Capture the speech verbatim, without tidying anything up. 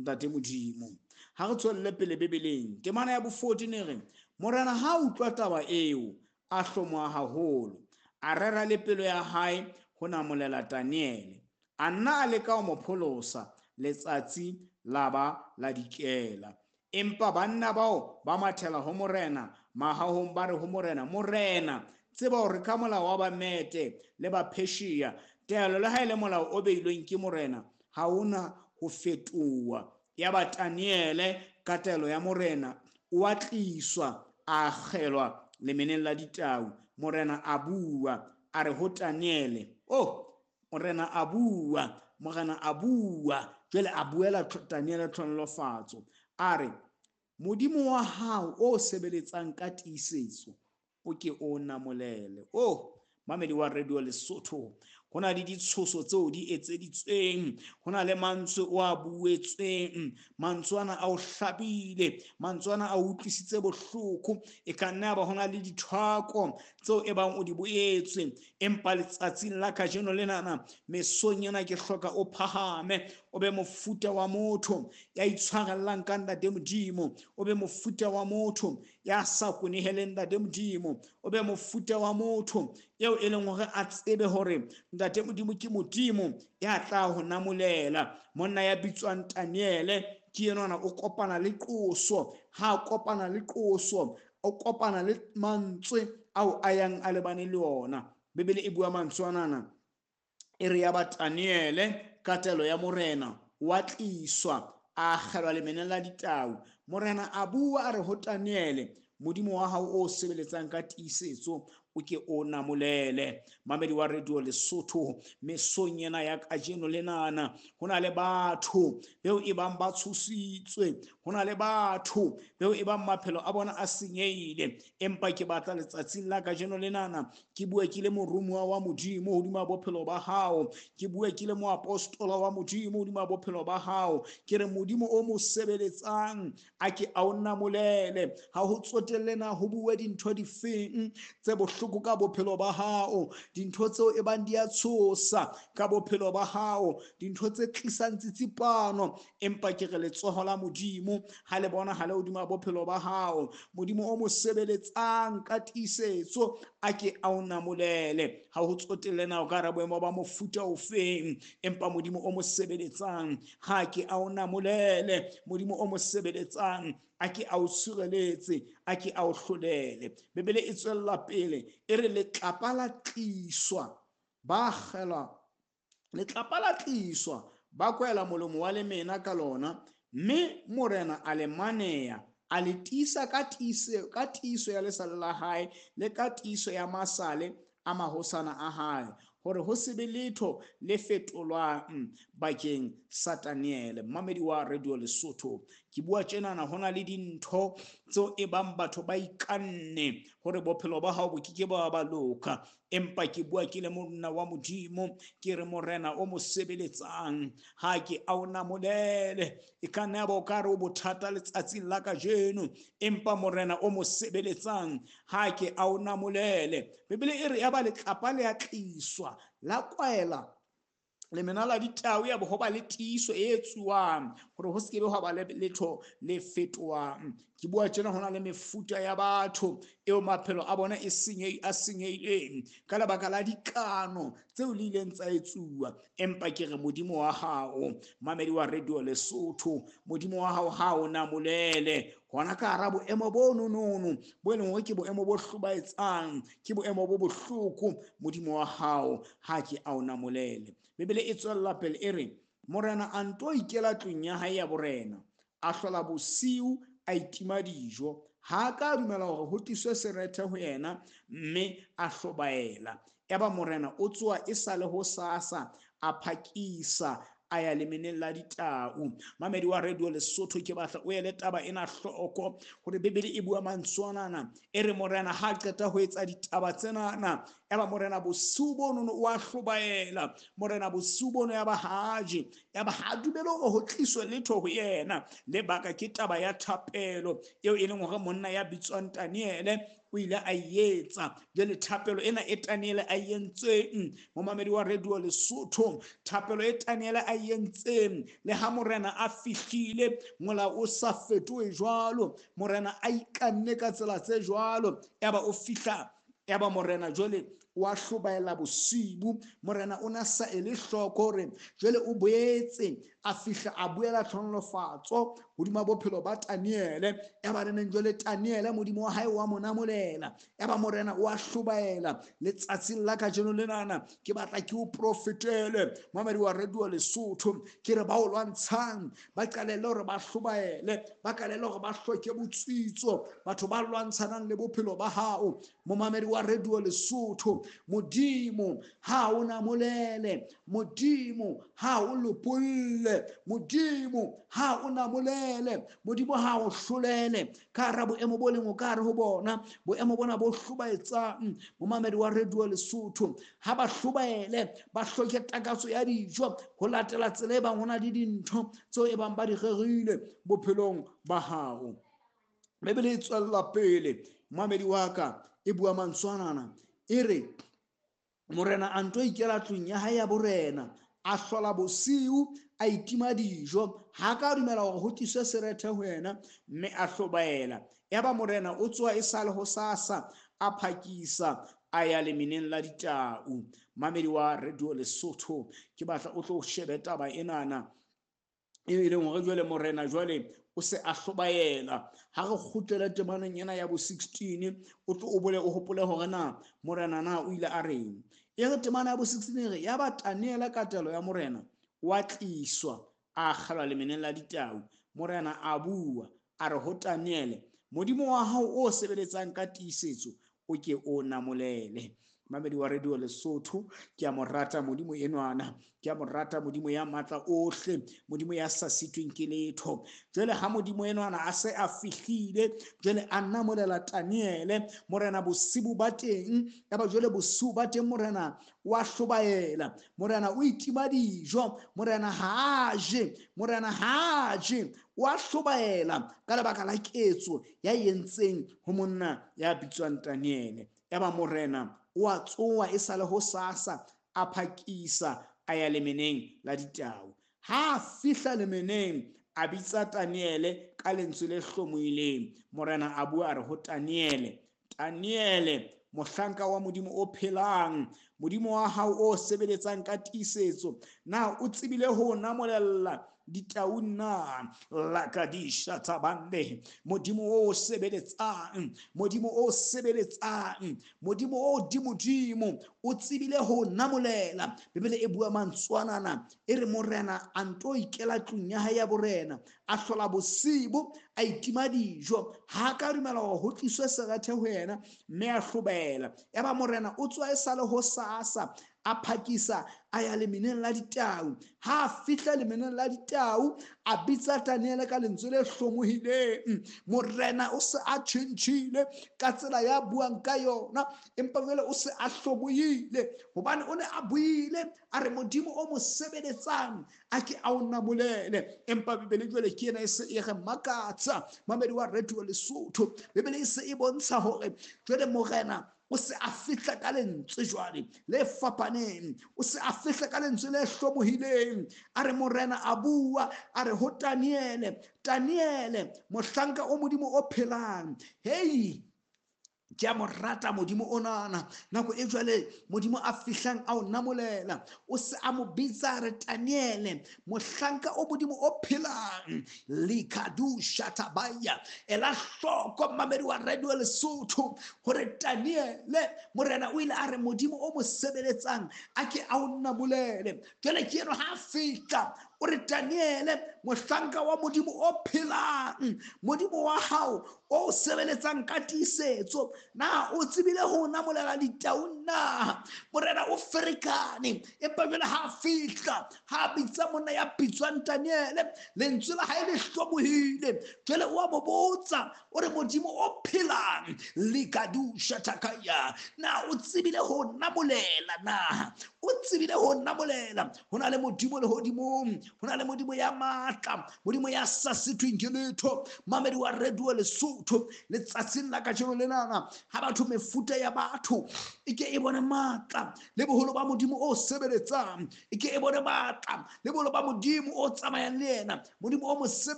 Ntate Modimo. Ha re tswelle pele Bibeleng, temana ya bo fourteen e re, Morena ha utlwa taba eo, a hlomoha haholo, a rera le pelo ya hae ho namolela Daniele. A nna a leka ho mo pholosa, letsatsi la ba la dikela. Empa banna bao ba mathela ho morena mahahong, ba re ho morena, Morena, tseba hore ka molao wa Bamete le ba Persia, taelo le ha e le molao o beilweng ke morena ha ona ho fetoha. Yaba Daniele ka taelo ya morena o a tliswa, a akgelwa lemeneng la ditau. Morena a bua, a re ho Daniele, oh, morena a bua, morena a bua, jwale a buela Daniele tlhonolofatso, a re, Modimo wa hao o sebeletsang ka tiisetso o ke o namolele. Oh, mamedi wa Radio Lesotho, ho na le ditshoso tseo di etseditsweng, ho na le mantswe o a buetsweng, mantswe ana a o hlabile, mantswe ana a o utlwisitse bohloko. E ka nna ya ba ho na le dithwako tseo e bang o di boetswe, empa letsatsing la kajeno lenana, mesong ena ke hloka o phahame, o be mofuta wa motho ya itshwarellang ka Ntate Modimo, o be mofuta wa motho ya sa kweneheleng Ntate Modimo, o be mofuta wa motho eo e leng hore a tsebe hore Ntate Modimo ke Modimo ya tla ho namolela. Monna ya bitswang Daniele ke enwana o kopana le qoso, ha a kopana le qoso, o kopana le mantswe ao a yang a lebane le ona. Bibele e bua mantswe anana, e re ya ba Daniele ka taelo ya morena wa tliswa, a akgelwa lemeneng la ditau. Morena a bua a re ho Daniele, Modimo wa hao o sebeletsang ka tiisetso o ke o namolele. Mamedi wa Radio Lesotho, mesong ena ya kajeno lenana, ho na le batho beo e bang ba tshositswe, ho na le batho beo e bang maphelo a bona a senyehile, empa ke batla letsatsing la kajeno lenana ke bue ke le moromuwa wa Modimo hodima bophelo ba hao, ke bue ke le moapostola wa Modimo hodima bophelo ba hao, ke re Modimo o mo sebeletsang a ke a o namolele. Ha ho tsotelle na ho bue dintho difeng tse bohloko ka bophelo ba hao, dintho tseo e bang di a tshosa ka bophelo ba hao, dintho tse tlisang tsitsipano, empa ke re letsoho la Modimo ha le bona ha le hodima bophelo ba hao. Modimo o mo sebeletsang ka tiisetso a ke a o namolele. Ha ho tsotelle na o ka re boemo ba mofuta ofeng, empa Modimo o mo sebeletsang ha ke a o namolele. Modimo o mo sebeletsang a ke a o tshireletse, a ke a o hlolele. Bibele e tswella pele e re letlapa la tliswa, ba akgelwa, letlapa la tliswa, ba kwela molomo wa lemena ka lona, mme morena a le maneya, a le tiisa ka tiiso, ka tiiso ya lesale la hae le ka tiiso ya masale a mahosana a hae, hore ho se be letho le fetolwang bakeng sa Daniele. Mamedi wa Radio Lesotho, ke bua tjenana, ho na le dintho tseo e bang batho ba ikanne hore bophelo ba hao bo ke ke ba ba loka, empa ke bua ke le monna wa Modimo, ke re morena o mo sebeletsang ha ke a o namolele. E ka nna ya ba o ka re o bothata letsatsing la kajeno, empa morena o mo sebeletsang ha ke a o namolele. Bibele e re ya ba letlapa le a tliswa, la kwaela lemena la ditau, ya bo ho ba le tiiso e etsuwang hore ho se ke be hwa ba le letho le fetohang. Ke bua tjena, ho na le mefuta ya batho eo maphelo a bona e senye-, a senyehileng ka lebaka la dikano tseo le ileng tsa etsuwa, empa ke re Modimo wa hao, mamedi wa Radio Lesotho, Modimo wa hao ha o namolele hona ka hara boemo bo nonono bo e leng hore ke boemo bo hlobaetsang, ke boemo bo bohloko, Modimo wa hao ha ke a o namolele. Bibele e tswella pele e re, morena a nto ikela tlung ya hae ya borena, a hlola bosiu, a itima dijo, ha a ka dumela hore ho tliswe serethe ho yena, mme a hlobaela. Yaba morena o tsoha e sa le hosasa, a phakisa a ya lemeneng la ditau. Mamedi wa Radio Lesotho, ke batla o ele taba ena hloko hore Bibele e bua mantswe anana, e re morena ha qeta ho etsa ditaba tsenana, yaba morena bosiu bono o a hlobaela, morena bosiu bono ya ba haje, Yaba ha dumele hore ho tliswe letho ho yena. Lebaka ke taba ya thapelo eo e leng hore monna ya bitswang Daniele o ile a etsa. Jwale thapelo ena e Daniele a entseng, momamedi wa Radio Lesotho, thapelo e Daniele a entseng, le ha morena a fihlile molao o sa fetohe jwalo, morena a ikanne ka tsela tse jwalo, yaba o fihla, yaba morena jwale wa hlobaela bosibu. Morena o na sa ele hloko hore jwale o boetse a fihla a buela tlhonolofatso hodima bophelo ba Daniele. Yaba re neng jwale Daniele modimo wa hae wa mo namolela. Yaba morena o a hlobaela. Letsatsing la kajeno lenana ke batla ke o profetele, mamedi wa Radio Lesotho, ke re ba o lwantshang ba qalelle hore ba hlobaele, ba qalelle hore ba hloke botsitso, batho ba lwantshanang le bophelo ba hao. Momamedi wa Radio Lesotho, Modimo ha o namolele, Modimo ha o lopolle, Modimo ha o namolele, Modimo ha o hlolele ka hara boemo bo leng o ka hare ho bona, boemo bona bo hlobaetsang. Momamedi wa Radio Lesotho, ha ba hlobaele, ba hloke takatso ya dijo ho latela tsela e bang ho na le dintho tseo e bang ba di rerile bophelong ba hao. Bibele e tswella pele, momamedi wa ka, e bua mantswanana, e re morena a nto ikela tlung ya hae ya borena, a hlola bosiu, a itima dijo, ha ka dumela hore ho tliswe serethe ho yena, mme a hlobaela. Yaba morena o tsoha e sale hosasa, a phakisa a ya lemeneng la ditau. Mamedi wa Radio Lesotho, ke batla o tlo shebe taba enana e leng hore jwale morena jwale o se a hlobaela. Ha re kgutlele temaneng ena ya bo sixteen, o tlo o bole o hopole hore na morena na o ile a reng. E re temana ya bo sixteen e re, yaba Daniele ka taelo ya morena wa tliswa, a akgelwa lemeneng la ditau. Morena a bua, a re ho Daniele, Modimo wa hao o sebeletsang ka tiisetso o ke o namolele. Mamedi wa Radio Lesotho, ke a mo rata Modimo enwana, ke a mo rata Modimo ya matla ohle, Modimo ya sa sitweng ke letho. Jwale ha Modimo enwana a se a fihlile, jwale a namolela Daniele, morena bosibu ba teng, yaba jwale bosiu ba teng morena wa hlobaela, morena o itima dijo, morena ha a je, morena ha a je, wa hlobaela ka lebaka la ketso ya entseng ho monna ya bitswang Daniele. Yaba morena o a tsoha e sale hosasa, a phakisa a ya lemeneng la ditau. Ha a fihla lemeneng, a bitsa Daniele ka lentswe le hlomohileng. Morena a bua a re ho Daniele, Daniele, mohlanka wa Modimo o phelang, Modimo wa hao o sebeletsang ka tiisetso, na o tsebile ho namolella ditau na? Lakadisha tabande. Modimo o sebeletsang, Modimo o sebeletsang, Modimo o dimodimo o tsebile ho namolela. Bibele e bua mantswanana, e re morena a nto ikela tlung ya hae ya borena, a hlola bosibu, a itima dijo, ha ka dumela hore ho tliswe serethe ho yena, mme a hlobaela. Yaba morena o tswa e sale hosasa, a phakisa a ya lemeneng la ditau. Ha a fihla lemeneng la ditau, a bitsa Daniele ka lentswe le hlomohileng. Morena o se a tjhentjhile ka tsela ya buang ka yona, empa jwale o se a hlomohile, hobane o ne a buile a re Modimo o mo sebeletsang a ke a o namolele. Empa Bibele jwale ke ena e se e re makatsa, mamedi wa Radio Lesotho. Bibele e se e bontsha hore jwale morena o se a fihla ka lentswe jwale le fapaneng, o se a fihla ka lentswe le hlomohileng. A re morena a bua, a re ho Daniele, Daniele, mohlanka o Modimo o phelang, hei, ke a mo rata Modimo onana. Nako e jwale Modimo a fihlang a o namolela, o se a mo bitsa re Daniele, mohlanka o Modimo o phelang. Likadusha tabaya. Ela hloko mamedi wa Radio Lesotho hore Daniele morena o ile a re Modimo o mo sebeletsang a ke a o namolele. Jwale ke eno ha fihla o re Daniele, mohlanka wa Modimo o phelang, Modimo wa hao o sebeletsang ka tiisetso, na o tsebile ho namolela ditau na? Morena o ferekane, empa jwale ha fihla, ha bitsa monna ya bitswang Daniele, lentswe la hae le hlomohile. Jwale o a mo botsa, o re Modimo o phelang, likadusha takaya, na o tsebile ho namolela na? O tsebile ho namolela? Ho na le Modimo lehodimong Ho na le Modimo ya matla, Modimo ya sa sitweng ke letho. Mamedi wa Radio Lesotho, letsatsing la kajeno lenana, ha batho mefuta ya batho e ke e bone matla le boholo ba Modimo o sebeletsang, e ke e bone matla le boholo ba Modimo o tsamayang le yena, Modimo o mo sebeletsang.